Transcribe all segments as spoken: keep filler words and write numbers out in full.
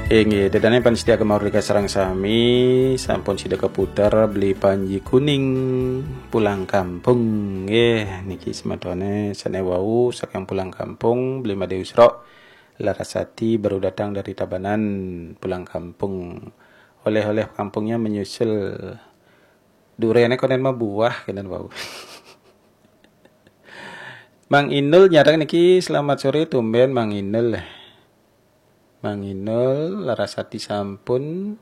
Inggih, ida dané pamiarsa Gema Merdeka sareng sami, sampun sida kaputer Beli Panji Kuning, Pulang Kampung. Nggih, niki semetone sane wau saking Pulang Kampung, Beli Made Usrok, Larasati baru datang dari Tabanan, Pulang Kampung. Oleh-oleh kampungnya menyusul. Durene konen mah buah kenen wau. Mang Inul nyareng niki, selamat sore, tumben Mang Inul. Mang Inul, Larasati sampun.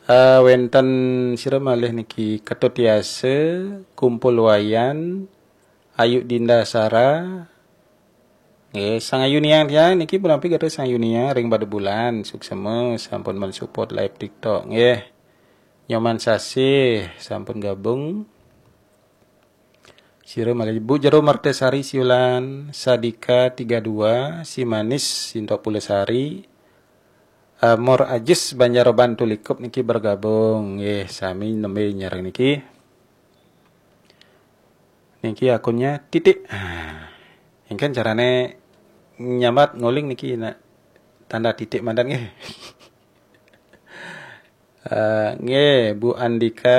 Eh, wenten sira malih niki, Ketut Yase, Kumpul Wayan, Ayu Dinda Sara. Nggih, Sang Ayu Niang tiang niki punapi gaduh Sang Ayu Niang ring Padebulan, suksema sampun mensupport live TikTok. Nggih. Nyoman Sasih sampun gabung. Sira malih Bu Jero Mertesari Siulan, Sadika tiga dua, Si Manis Sintok Pulesari, Amor Ajis Banjaroban Tulikup niki bergabung. Nggih, sami nembe nyareng niki. Niki akunnya titik. Ah, engken carane nyambat nguling niki, nak, tanda titik mandan nggih. Eh, nggih, Bu Andika,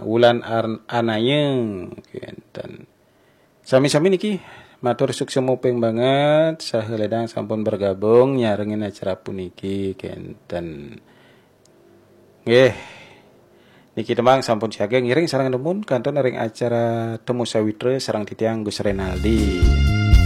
Wulan Ar-, Anayeng, kenten. Sami-sami niki, matur suksema ping banget, saha ledang sampun bergabung nyarengin acara puniki, kenten. Nggih, niki tembang sampun siaga ngiring sareng dumun kantun ring acara Temu Sawitra sareng titiang Gus Renaldi.